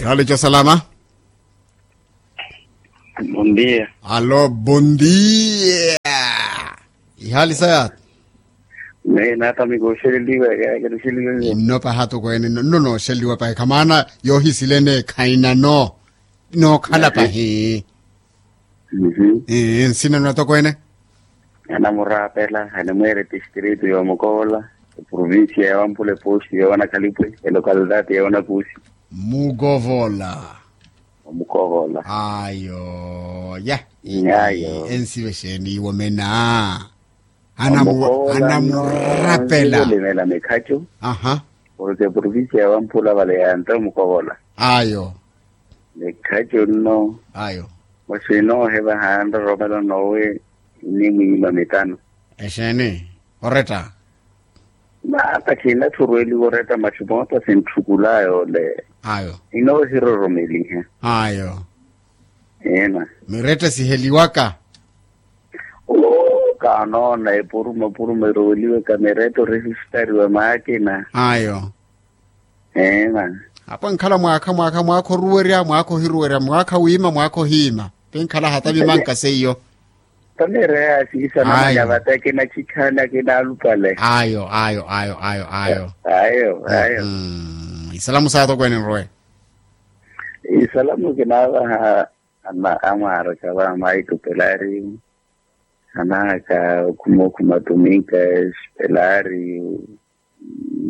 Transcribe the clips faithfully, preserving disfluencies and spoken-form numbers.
Hali ca salama. Bondia. Alo bondia. Ihali saya. Naye natamika oxeleliwa. Inno paha toko ene nno nooxeleliwa pahi khamaana yoohisilene khaina no nookhala pahi. Nsina nwa toko ene. Anamurapela animweere tistritu yoomukovola, eprovincia ya wampula eposti ya wanakalipwe elokalidati ya wanakusi. Mukovola. Omukovola. Ayo ya. Ayo. Ensive xeeni iwo mena. Anamurapela. Limela mikhacu. Aha. Porke provincia ya wampula vale yanta omukovola. Ayo. Mikhacu nno. Ayo. Masi noohevaha nroromelo nowe. Inimwiima mitano. Exeeni oretta. Maata khinatthurweliwa oretta masi moota sintthukula yoole. Ayo. Inoohiroromeliha. Ayo. Eena. Miretta siheliwaka. Oo kaanoona epuruma puruma eroweliwaka miretta oresistariwa maakina. Ayo. Eena. Apo nkhala mwaakha mwaakha mwaakha oruwerya mwaakha ohiruwerya mwaakha wiima mwaakha ohiima. Ti nkhala hata vimanka seiyo. Taneera yaasiisa namanya vate akina chikhani akina alupale. Ayo ayo ayo ayo ayo. Ayo ayo. Isalamu saatokweene nrowe. Isalamu kinaavaha. Amwaaraka va maitupelari. Anaaka okhuma okhuma tuminka espelari.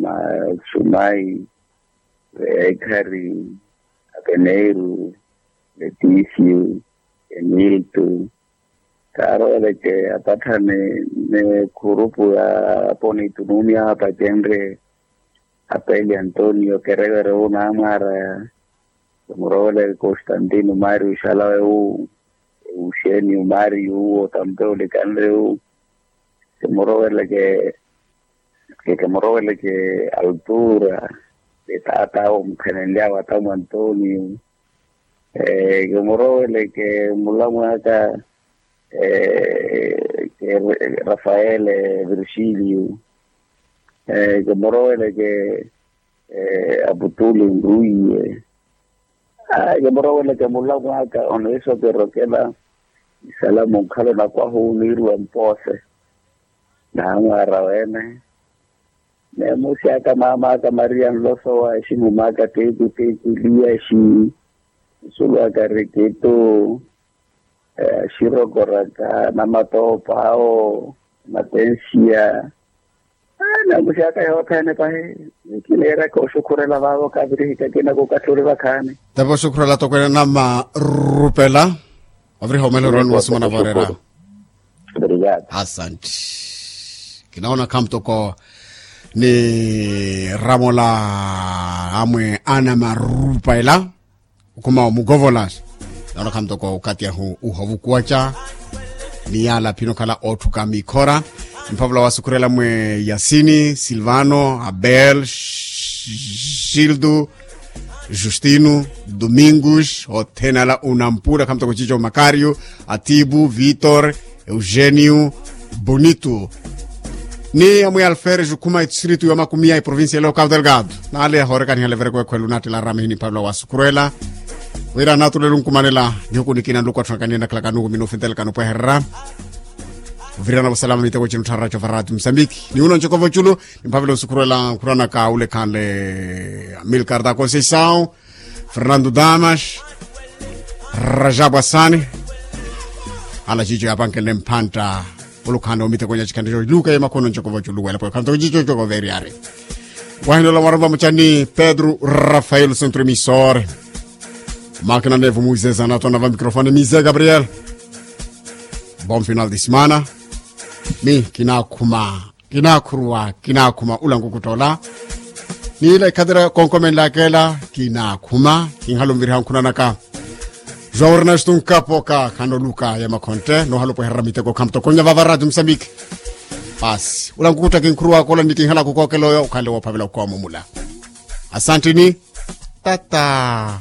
Masumai, veekhari, apeneiru, letisio, emiltu. Kaarooleke apatthane ni khurupu ya aponitunumi ahapacenrye. Apeli antonio kerevere wu naamwaaraya. Kimuroweleke constantino mario xalawe wu. Euxenio mario wu otampe olikanre wu. Kimuroweleke kimuroweleke altura. Ni taat'awe omukhenenly'awe atamu antonio. Kimuroweleke mulamw'aka rafaele virgilio. Kimuroweleke aputuli nruwiye. Kimuroweleke mulamw'aka oneeso kirokela. Isalamu nkhala onakwahu niiriwa mpoose. Naamwaara wene. Neemusi aka maama aka maria nloso wa aximum'aka teku teku liyaxi. Nsulw'aka rikitu. Axirokoraka namatoopa awo. Matensiya. Namuxaka yothene pahi. Kiniiraka oxukhurela vaavo kavirihika kinaku okathi ori vakhaani. Tava oxukhurela tokwene namarupela. Oviriha omwelero ni wasumana vorera. Asante. Kinaona khamutoko ni ramola amwe ana marupela. Okhuma omukovola. Noona khamutoko okathi ahu uhovukuwaca. Ni yaala aphina okhala ootthuka mikhora. Mphavula wasukhurela mwe yasini silvano abel, gildo, justino, domingos othene ala unampula khamutoko cico makario, atibu vitor, eugenio, bonito. Ni amwiya alferes okhuma etistritu ya makumiya eprovincia ya local delgado. Naale yahoorekaniha levereko ekhwelu naattela aramihi ni mphavula wasukhurela. Wira naatulelo nkumanela nihuku nikina nluku atthu ankaniye nakhalaka nuku minufi ntelekano pweherera. Ovirana vasalama miteko cinu ttharaco varati musambiki ni uno ncokova oculu. Ni mphavela osukhurela nkhuranaka ule khanle amilcar da conceição, fernando damas, rajabu asani. Ala cico yapankenle mphantta. Olukhanle omitekonyacikhanle co luka yemakhono ncokova oculu wela pwe khanto cico cokova eryari. Wahinola mwarova mucani pedro rafael centro emisor. Makina nevo muizeza natona va microfone mize gabriel. Bon final de semana. Mi kinakhuma, kinakhuruwa, kinakhuma ula nkukuttoola. Niila ikhatira konkomenlaka ela kinakhuma. Kinhala onviriha nkhunanaka. João ernesto nkapoka khanoluka ya makhontte noohala opweherera miteko khamutoko nnya vava rati musambiki. Paasi ula nkukutta kinkhuruwaka ola ni kinhala kukookela oyo okhanle woophavela okhowa mumula. Asantini. Tata.